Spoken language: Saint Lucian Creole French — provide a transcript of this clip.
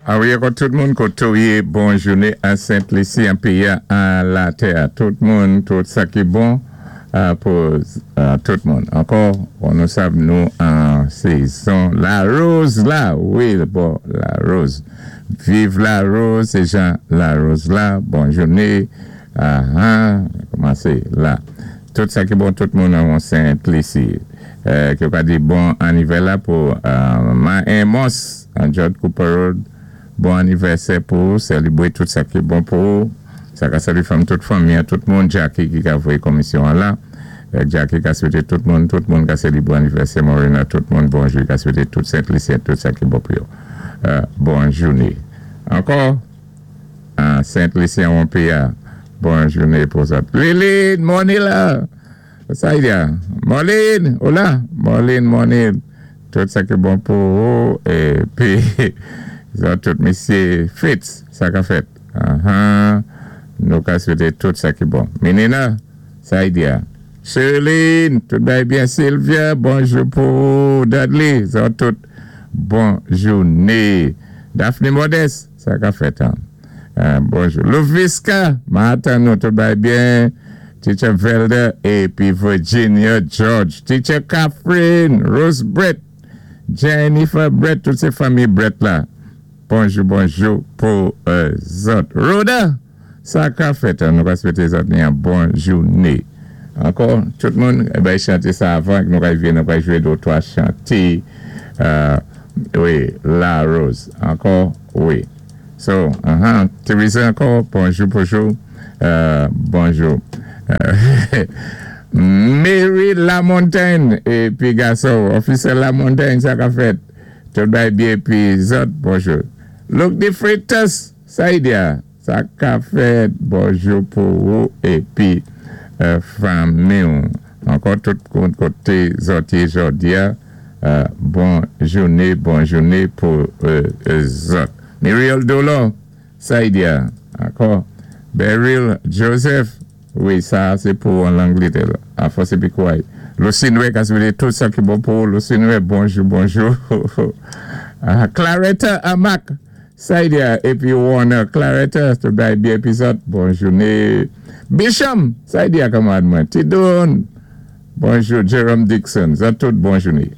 A wi, ankò tout moun koté ou yé, bon jouné an Sent Lisi, an péyi-a, an latè. Tout moun, tout sa ki bon pou tout moun. Ankò, bon, nou sav nou an sézon lawoz la, wi, bon, lawoz. Viv lawoz, sé jan lawoz la, bon jouné, ahan, kòmansé la. Tout sa ki bon tout moun an Sent Lisi. Ki yo ka di bon anivè la pou Ma Amos an George Cooper Road. Bon anivèsè pou ou, selibré tout sa ki bon pou ou. Sa ka salye fanm tout fanmi an, tout moun. Jackie ki ka voyé komisyon an la. Jackie ka swété tout moun, tout moun ka selibré anivèsè Morena, tout moun bonjou. Ka swété tout Sent Lisyen tout sa ki bon pou yo. Bon jouné. Ankò, Sent Lisyen won piya. Bon jouné pou zòt. Liline, Monila! Sa y a? Marlene, hola! Marlene, Marlene, tout sa ki bon pou ou épi zòt tout misyé Fritz, sa ka fèt? Ahan, nou ka swété tout sa ki bon. Minina, sa y di a? Sherline, tout bagay byen. Sylvia, bonjou pou ou. Dudley, zòt tout bon jouné. Daphné Modeste, sa ka fèt an? Bonjou. Louviska, m atann nou tout bagay byen. Teacher Velda épi Virginia George. Teacher Catherine, Rose Brett, Jennifer Brett, tout sé fanmi Brett la. Bonjou, bonjou pou zòt. Rhoda, sa ka fèt an? Nou ka swété zòt ni an bon jouné. Ankò, tout moun, bay chanté sa avan nou ka vin, nou ka jwé dé twa chanté, wi, Larose. Ankò, wi. So, Teresa ankò, bonjou, bonjou, bonjou. Mary Lamontagne, épi gason, Officer Lamontagne, sa ka fèt? Tout bagay byen épi zòt, bonjou. Luke de Freitas, sa y di a? Sa ka fèt? Bonjou pou ou épi fanmi ou. Ankò tout moun koté zòt yé jòdi a, bon jouné, bon jouné pou zòt. Muriel Dolor, sa y di a? Ankò Beryl Joseph, wi sa a sé pou an Langletè a fòs épi kouray. Lucinue ka swété tout sa ki bon pou ou Lucinue, bonjou, bonjou. Claretta Amack, sa y di a? Épi Warner Claretta, tout bagay byen épi zòt, bon jouné. Bisham, sa y di a kanmarad mwen? Ti Don, bonjou. Jerome Dixon, zòt tout bon jouné.